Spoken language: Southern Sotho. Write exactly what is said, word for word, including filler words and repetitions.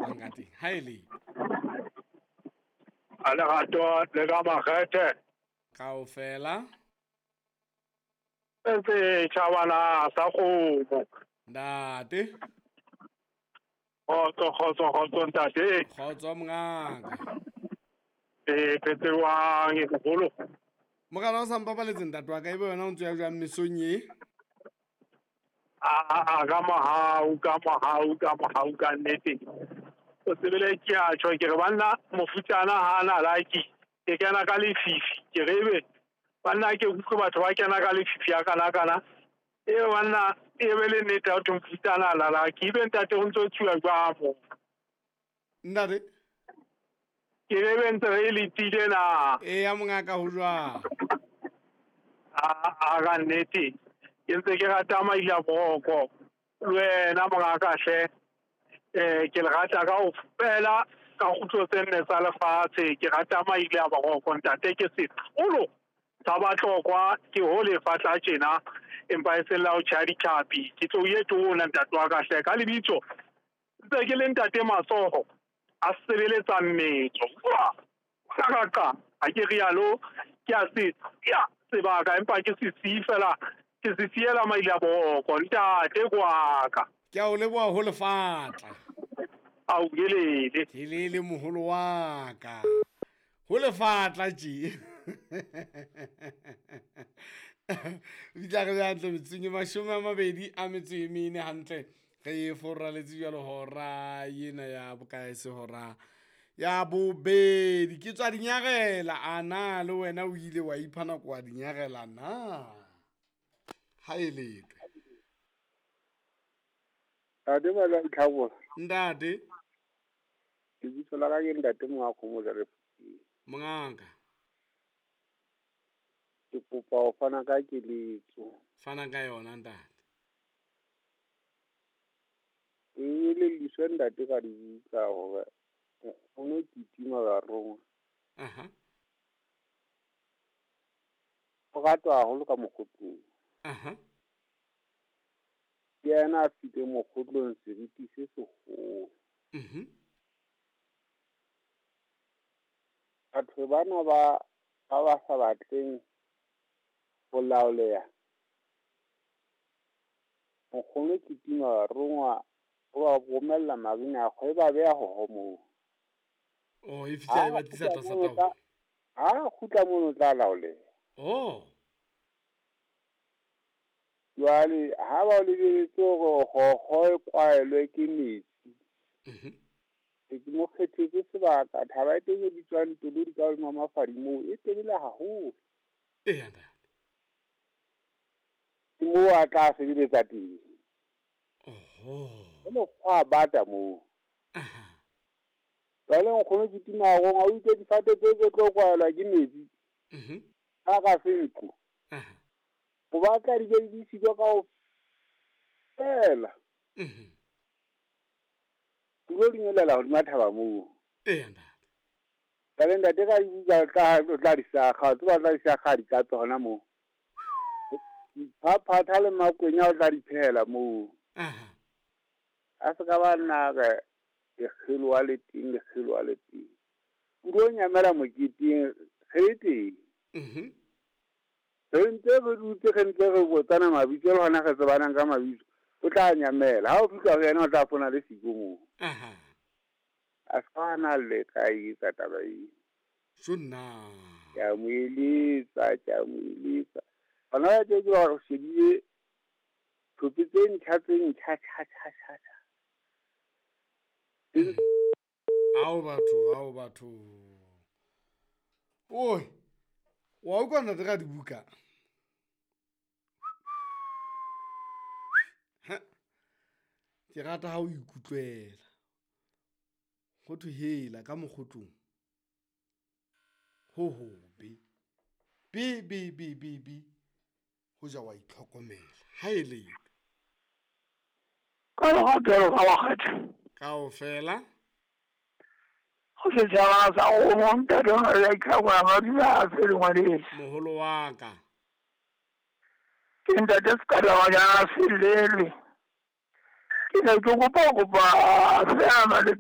ratang ka teng. Ha e le A lerato le ka makgethe. Kaofela. Se tjhabana sa kgomo. Ntate. Kgotso, kgotso, kgotso ntate. Kgotso mongaka. E phetse jwang e moholo? Morena o sa mpapaletse ntate wa ka, ebe wena o ntse ya jwang mesong e? A a ka mohau, ka mohau, ka mohau ka nnete. O tsebile ke a tjho ke re banna mofutsana ha na like ke kena ka lefifi ke re ebe banna ke utlwe batho ba kena ka lefifi ya kana kana e banna e be le nnete ya ho mofutsana la la ke ibe ntate o ntso tsuwa jwang mo ntate ke re be ntse re letile na e ya mongaka ho jwang a a ka nnete ke ntse ke rata maila boroko le wena mongaka hle. Eh ke le rata kaofela ka kgutlo tse nne tsa lefatshe ke rata maile a boroko ntate ke seholo sa batlokwa ke ho lefatla tjena empa e seng la ho tjhaya ditlhapi ke tlo ye tona ntate wa ka hle ka lebitso ntse ke le ntate Matsoho a sebeletsa mmetso ka ha ke rialo ke a se ya sebaka empa ke se siye fela ke se siela maile a boroko ntate kwaka. Ke a o leboha ho lefatla. Au gelele. Helele moholo wa ka. Ho lefatla tje. Bitla re hantle metsing e mashome a mabedi a metso e mene hantle. Re foraletse jwalo hora yena ya bokae se hora ya bobedi. Ke tswa dinyarela ana le wena o ile wa ipha nako wa dinyarela na. Ha e letwe. Ntate ba Tlhabola. Ntate. Lebitso la ka ke ntate Mongakgomo le Mongaka. Ke kopa ho fana ka keletso. Fana ka yona ntate. Ke elelliswe ntate ka dibuka hore o no kitima barongwa. Aha. O ratwa haholo ka mokgotlong. Aha. Ke yena a file mokgotlong seriti se seholo. Mhm. Batho bana ba ba ba sa batleng ho laoleha. Nkgono kitima barongwa o ba romella marina a kgwe ba beha ho moo. Oh, e fihla e ba tlisa tlasa taolo. Ha kgutla mono tla laoleha. Oh. Jwale ha ba o lebeletse hore kgokgo e kwaelwe ke metsi. Mhm. Ke mo kgethetse sebaka thaba e teng e bitswang Tolodi ka hodima Mafadi moo e telele haholo. Eya ntate. Ke moo a tla sebeletsa teng. Oho. Ho mokgwa a bata moo. Aha. Jwale nkgono kitima rongwa o itse difate tse tse tlo kwaelwa ke metsi. Mhm. Ha ka se ntlo. Aha. O batla di be di siko kaofela. Mhm. Tulo di nyolela hodima thaba moo. Eya ntate. Jwale ntate ka dibuka tla tla di sakga, tse ba tla di sakga di ka tsona moo. Phaphatha le makwenya o tla di phehela moo. Aha. A se ka ba nna re lekgelo wa le teng, lekgelo wa le teng. Pulo nyamela moketeng re le teng. Mhm. Re ntse re dutse re ntse re botsana mabitso le hona re tsebanang ka mabitso. O tla nyamela. Ha o fihla ho yena o tla fona le siko moo. Aha. A se ka na le ka etsa taba eo. Sonna. Ke a mo eletsa, ke a mo eletsa. Hona jwale ke ba re shebile thope tse ntjha tse ntjha tjha tjha tjha tjha. Ao batho, ao batho. Oi. Wa utlwa ntate ka dibuka. Ha. Ke rata ha o ikutlwela. Ho thwe hela ka mokgotlong. Ho hobe. Be be be be be. Ho ja wa itlhokomela. Ha e le. Ka lerato ka makgethe. Kaofela. Ho setjhaba sa kgomo ntate wa Tlhabola madula a fele ngwaneso. Moholo wa ka. Ke ntate Sekadamajana Selele. Ke ne ke kopa kopa feela le